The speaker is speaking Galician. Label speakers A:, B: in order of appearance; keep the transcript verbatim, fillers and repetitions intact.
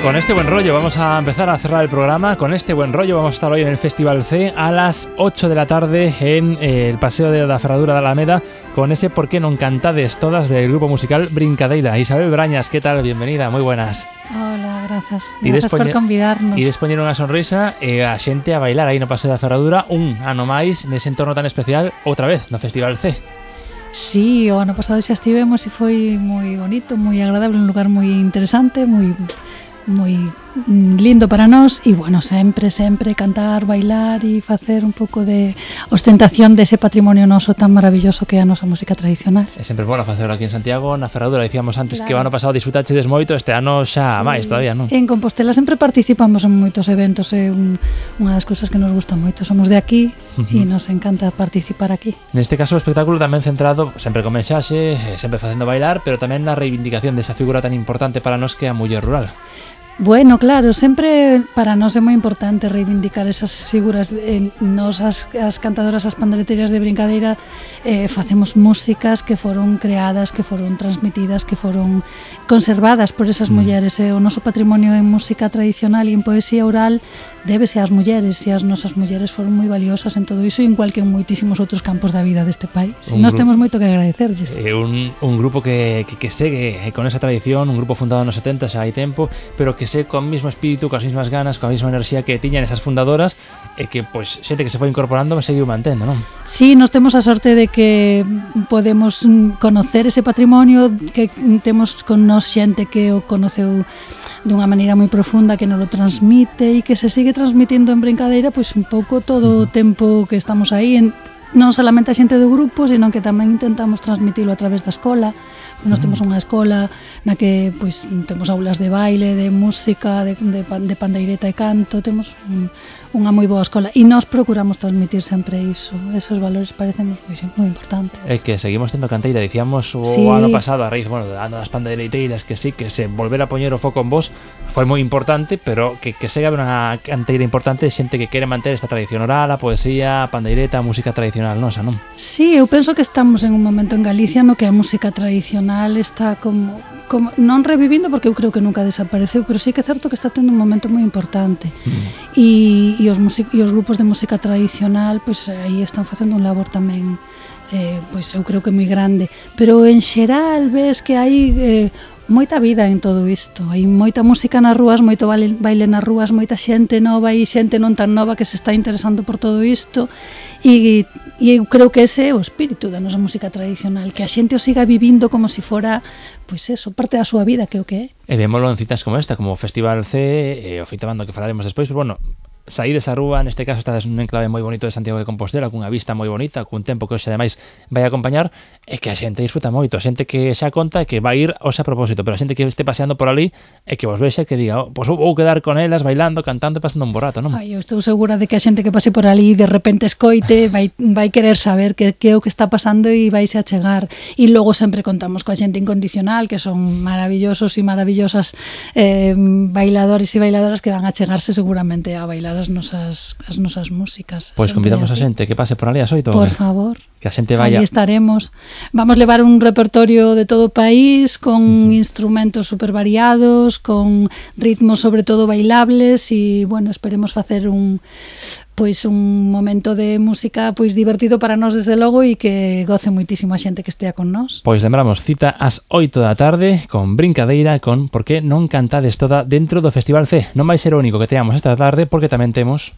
A: Con este buen rollo vamos a empezar a cerrar el programa. Con este buen rollo vamos a estar hoy en el Festival C a las ocho de la tarde en eh, el Paseo de la Ferradura de Alameda con ese Por qué non cantades todas del grupo musical Brincadeira. Isabel Brañas, ¿qué tal? Bienvenida, moi buenas.
B: Hola, grazas.
A: E
B: Grazas por convidarnos.
A: E despoñer unha sonrisa e a xente a bailar aí no Paseo da Ferradura un ano máis nese entorno tan especial outra vez no Festival C.
B: Sí, o ano pasado xa estivemos e foi moi bonito, moi agradable, un lugar moi interesante, moi moi lindo para nós e, bueno, sempre, sempre cantar, bailar e facer un pouco de ostentación dese patrimonio noso tan maravilloso que é a nosa música tradicional.
A: É sempre bueno facerlo aquí en Santiago, na Ferradura. Dicíamos antes
B: claro.
A: que o ano pasado disfrutachedes moito, este ano xa sí. máis todavía, non?
B: En Compostela sempre participamos en moitos eventos, é un, unha das cousas que nos gusta moito. Somos de aquí uh-huh. e nos encanta participar aquí.
A: Neste caso o espectáculo tamén centrado sempre con mensaxe, sempre facendo bailar, pero tamén na reivindicación desa figura tan importante para nós que é a muller rural.
B: Bueno, claro, sempre para nós é moi importante reivindicar esas figuras. Eh, nos as, as cantadoras, as pandeireteiras de Brincadeira eh, facemos músicas que foron creadas, que foron transmitidas, que foron conservadas por esas mm. mulleres. Eh, o noso patrimonio en música tradicional e en poesía oral débese ás mulleres, e as nosas mulleres foron moi valiosas en todo iso, igual que en moitísimos outros campos da vida deste país. E nós temos moito que agradecerlles.
A: É un, un grupo que, que, que segue con esa tradición, un grupo fundado nos setenta, xa hai tempo, pero que segue con o mismo espírito, coas mesmas ganas, coa mesma enerxía que tiñan esas fundadoras e que, pois, xente que se foi incorporando seguiu mantendo, non?
B: Sí, nós temos a sorte de que podemos conocer ese patrimonio, que temos con nós xente que o conoceu dunha maneira moi profunda, que nos lo transmite e que se sigue transmitindo en Brincadeira, pois un pouco todo o tempo que estamos aí, en, non solamente a xente do grupo, sino que tamén intentamos transmitilo a través da escola. Nós temos unha escola na que pois temos aulas de baile, de música, de, de, de pandeireta e canto, temos un, unha moi boa escola e nós procuramos transmitir sempre iso. Esos valores parecen pois, moi importantes.
A: É que seguimos tendo canteira, dicíamos o
B: sí.
A: ano pasado a raíz, bueno, do ano das pandeireteiras, que sí, que se volver a poñer o foco en vos foi moi importante, pero que, que segue unha canteira importante de xente que quere manter esta tradición oral, a poesía, a pandeireta, a música tradicional nosa, non?
B: Sí, eu penso que estamos en un momento en Galicia no que a música tradicional está como, como non revivindo, porque eu creo que nunca desapareceu, pero sí que é certo que está tendo un momento moi importante. Mm. E, e, os music, e os grupos de música tradicional, pois aí están facendo un labor tamén, eh, pois eu creo que moi grande. Pero en xeral ves que hai eh, moita vida en todo isto. Hai moita música nas rúas, moito baile, baile nas rúas, moita xente nova e xente non tan nova que se está interesando por todo isto. E, e eu creo que ese é o espírito da nosa música tradicional, que a xente o siga vivindo como se fora, pois eso, parte da súa vida, que é o que é.
A: E vémolo en citas como esta, como o Festival C, e o Feito Bando que falaremos despois, pero bueno, saí desa rúa, neste caso estás nun enclave moi bonito de Santiago de Compostela, cunha vista moi bonita, cun tempo que hoxe ademais vai acompañar, e que a xente disfruta moito, a xente que xa conta e que vai ir hoxe a propósito, pero a xente que este paseando por ali e que vos vexe que diga, oh, pois vou quedar con elas bailando, cantando e pasando un bo rato, non?
B: Ai, eu estou segura de que a xente que pase por ali de repente escoite, vai, vai querer saber que, que é o que está pasando e vaise a chegar. E logo sempre contamos coa xente incondicional, que son maravillosos e maravillosas eh, bailadores e bailadoras que van a chegarse seguramente a bailar as nosas, as nosas músicas.
A: Pois convidamos a xente que pase por ali as oito.
B: Por favor.
A: Que a xente vaya.
B: Aí estaremos. Vamos levar un repertorio de todo o país con uh-huh. instrumentos super variados, con ritmos sobre todo bailables e, bueno, esperemos facer un pois un momento de música pois divertido para nós desde logo e que goce moitísimo a xente que estea con nós.
A: Pois lembramos, cita ás oito da tarde con Brincadeira, con Por que non cantades toda dentro do Festival C. Non vai ser o único que teamos esta tarde porque tamén temos